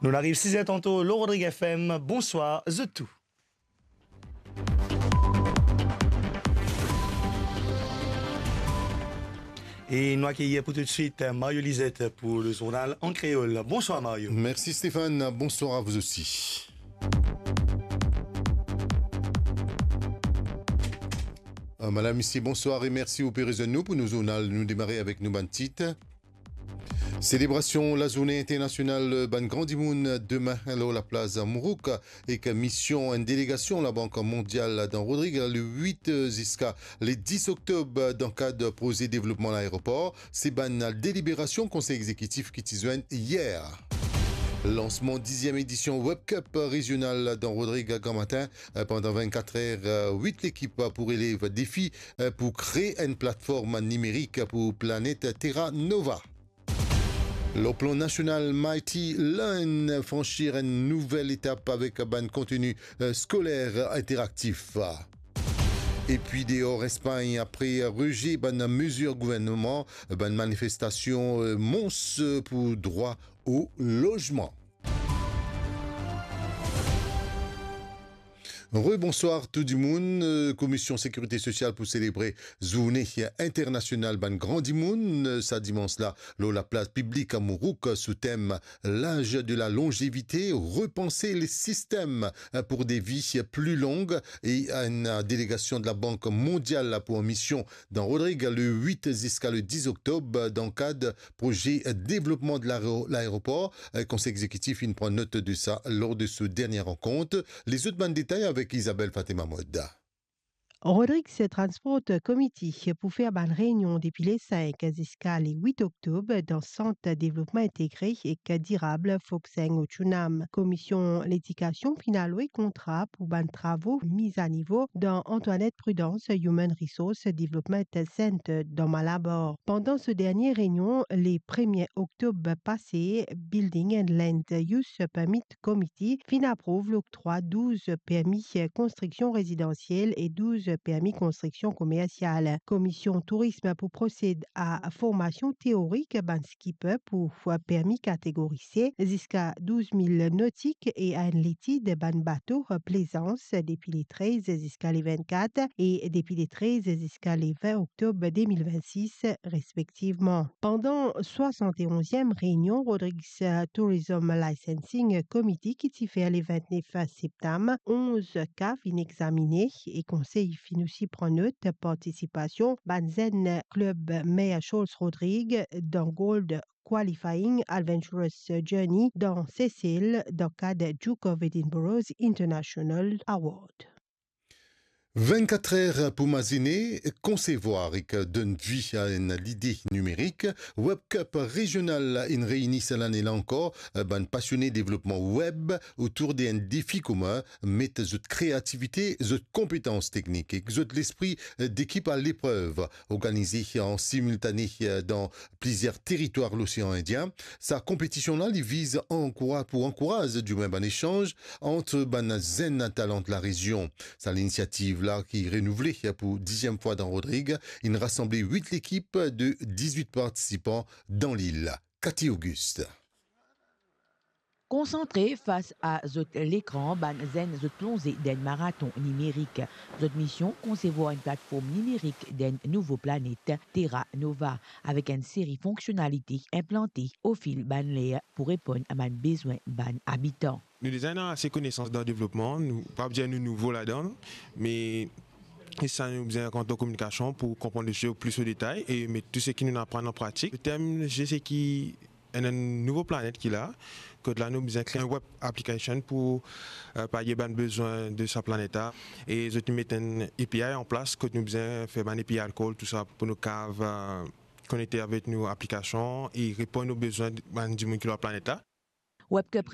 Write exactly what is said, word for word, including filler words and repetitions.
Nou ariv siz er tanto lor Rodrig F M. Bonswar zot tou. E nou akeyir pou toutswit Mario Lizet pou le zournal an kreol. Bonswar Mario. Mersi Stéphane, bonswar a vous aussi. Euh, madam, misie, bonswar e mersi ou pe rezwenn nou pou nou zournal. Nou demare avek nou bann tit. Selebrasion Lazourne Internasional Bann Gran Dimoun demin lor laplas Mourouk ek mision enn delegasion Labank Mondial dan Rodrig le wit ziska le dis oktob dan kad proze devlopman laeropor. Se bann deliberasion Konsey Egzekitif ki ti zwenn yer. Lansman diziem edision Web Cup rezional dan Rodrig gramatin pandan vennkat er. Wit lekip pou relev defi pou kree enn platform nimerik pou planet Terra Nova. Lor plan nasional, Mighty Learn fransi enn nouvel etap avek bann konteni, eh, skoler interaktif. Epi deor Espagn, apre reze bann mezir gouvernman, bann manifestasion, eh, mons pou drwa o lozman. Rebonswar tou dimoun. Eh, Komision Sekirite Sosial pou selebre Zourne Internasional Bann Gran Dimoun, eh, sa dimans la, lor laplas piblik a Mourouk, sou tem L'âge de la longévité, repenser les systèmes pour des vies plus longues, e enn delegasion de la Bank Mondial la pou an mision dan Rodrig le wit ziska le dis oktob dan kad proze devlopman de laero-, laeropor. Konsey Egzekitif inn pran not de sa lor de so dernie rankont. Lezot bann detay avek Isabelle Fatima Mod. Rodrigues Transport Committee pou fer bann reynion depi le sink ziska le wit oktob dan Sant Devlopman Integre ek Dirab Foxeng Ochunam. Komision Ledikasion finn alwe kontra pou bann travo miz a nivo dan Antoinette Prudence Human Resource Development Center dan Malabar. Pandan so dernie reynion, le premie oktob pase, Building and Land Use Permit Committee finn aprouv loktrwa douz permi konstriksion rezidansiel e douz permi konstriksion komersial. Komision Tourism pou prosed a formasion teorik bann skipper pou permi kategori C ziska douz mil notik e a enn letid bann bato plezans depi le trez ziska le vennkat e depi le trez ziska le vin oktob de mil vennsis respektivman. Pandan swasant-e-onziem reynion Rodrigues Tourism Licensing Committee ki ti fer le vintnef septam, onz ka finn examine e konsey finn osi pran not partisipasion bann zenn klub Mayor Charles Rodrigues dan Gold Qualifying Adventurous Journey dan Sesel dan kad Duke of Edinburgh's International Award. Vennkat er pou mazine, konsevwar ek donn vi a enn lide nimerik. Web Cup rezional inn reyni sa lane la ankor bann pasione devlopman web otour de enn defi komin, met zot kreativite, zot konpetans teknik ek zot lespri dekip a leprev. Organize an similtane dan plizier teritwar Losean Indien, sa konpetision la, li viz ankoura-, pou ankouraz dimoun bann esanz ant bann zenn talan larezion. Sa linisiativ la ki renouvle pou diziem fwa dan Rodrig, inn rasanble wit lekip de dizwit partisipan dan lil. Cathy Auguste. Konsantre fas a zot lekran, bann zenn zot plonze dan enn maraton nimerik. Zot mision, konsevwar enn platform nimerik dan enn nouvo planet, Terra Nova, avek enn seri fonksionalite inplante ofil bann ler pou reponn a bann bezwin bann abitan. Nou deza ena ase konesans dan devlopman, nou pa dir nou nouvo ladan, me sa nou bizin rant dan kominikasion pou konpran lesize plis o detay e met tou seki nou aprann an pratik. Letem, se ki enn, enn nouvo planet ki la, kot la nou bizin kree enn web application pou, eh, palye bann bezwin de sa planet la. E zot inn met enn A P I an plas, kot nou bizin fer bann A P I call, tou sa, pou nou kav, eh, konekte avek nou aplikasion e reponn o bezwin bann dimoun ki lor planet la. Web Cup